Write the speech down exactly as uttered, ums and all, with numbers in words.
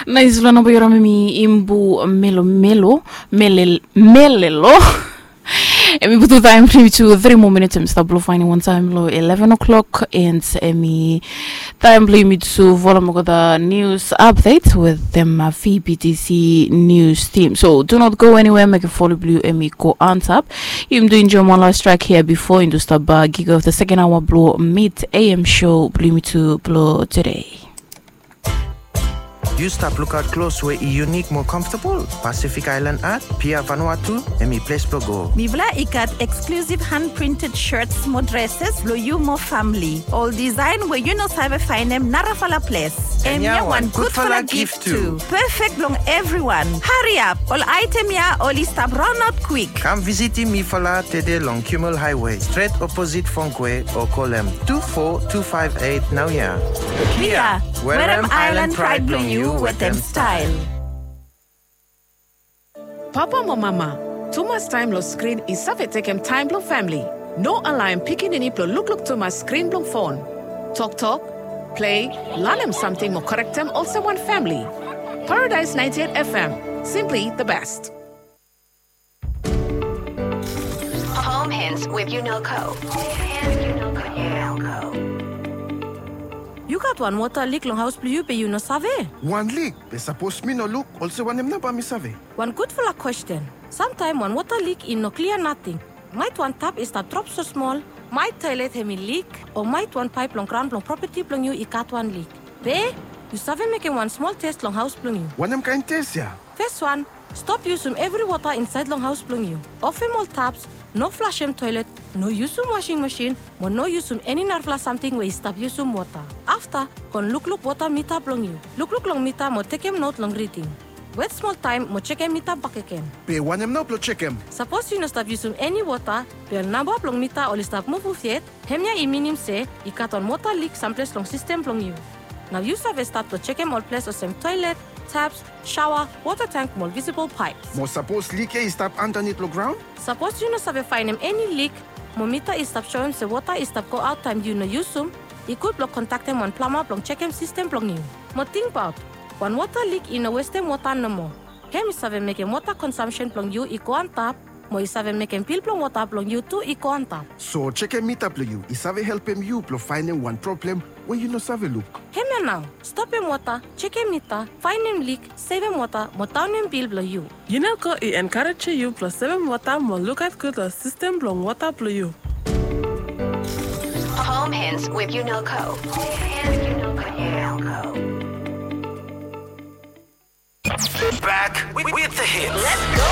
Nais long namba yu rame mi imbu melomelo melel melelo. Em i putum taem blong yumi tu tri moa minits em i stap blong faenem wantaem long eleven o'clock and em i taem blong yumi tu folem olgeta nius apdet wetem vbtc nius tim. So do not go eniwea, mekem folo blong yu em i go antap. Yumi tu enjoem wan las trak hia bifo yumi tu stap gig of the second aoa blong mit am show blong yumi tu blong tude. Yu stap lukaot klos we i yunik mo komfotabol? Pasifik Aelan At, Pia Vanuatu, em i ples blong go. Mifala i gat eksklusiv han printed shirts mo dreses blong yu mo famili. Ol disaen we yu no save faenem narafala ples. Em ya wan gudfala gif tu. Pefek blong evriwan. Hariap, ol aetem ya oli stap raonaot kwik. Kam visitim mifala tede long Kimmel Highway, stret oposit Fongkwe, o kolem tu fo tu faef eit naoia. Pia, werem aelan praed blong yu wetem stael. Papa mo mama, tumas taem long skrin i save tekem taem blong famili. No alaem pikinini blong lukluk tumas skrin blong fon. Toktok, plei, lanem samting mo korektem olsem wan famili. Paradise ninety-eight F M, simply the best. Home Hints with Unelco. Yu gat wan wota lik long haos blong yu be yu no save? Wan lik? Be sapos mi no luk, olsem wanem nao bae mi save? Wan gudfala kwesten. Samtaem wan wota lik i no klia nating. Maet wan tap i stap drop so smol, maet toelet hem i lik, o maet wan paep long graon blong propeti blong yu i gat wan lik. Be yu save mekem wan smol tes long haos blong yu. Wanem kaen tes ya? Feswan, stop yusum evri wota insaed long haos blong yu. Ofem ol taps, no flasem toelet, no yusum wasing masin, mo no yusum eni narafala samting we i stap yusum wota. Afta, go lukluk wota mita blong yu. Lukluk long mita mo tekem not long riding. Wet smol taem mo jekem mita bakegen. Be wanem nao blong jekem? Sapos yu no stap yusum eni wota, be ol namba blong mita oli stap muvmuv yet, hemia i minim se i gat wan wota lik samples long sistem blong yu. Nao yu save stat blong jekem ol ples olsem toelet, taps, saoa, wota tank mo ol visibol paeps. Mo sapos lik ya i stap andanit long graon? Sapos yu no save faenem eni lik, mo mita i stap soem se wota i stap goaot taem yu no yusum, i gud blong kontaktem wan plama blong jekem sistem blong yu. Mo tingbaot, wan wota lik i no westem wota nomo. Hem i save mekem wota konsamsen blong yu i go antap, mo i save mekem bil blong wota blong yu tu i go antap. So jekem mita blong yu i save helpem yu blong faenem wan problem we yu no save luk. Hemia nao, stopem wota, jekem mita, faenem lik, sevem wota, mo daonem bil blong yu. Unelco i enkarejem yu blong sevem wota mo lukaot gud long sistem blong wota blong yu. Home Hints with Unelco. Back with, with the hits. Let's go.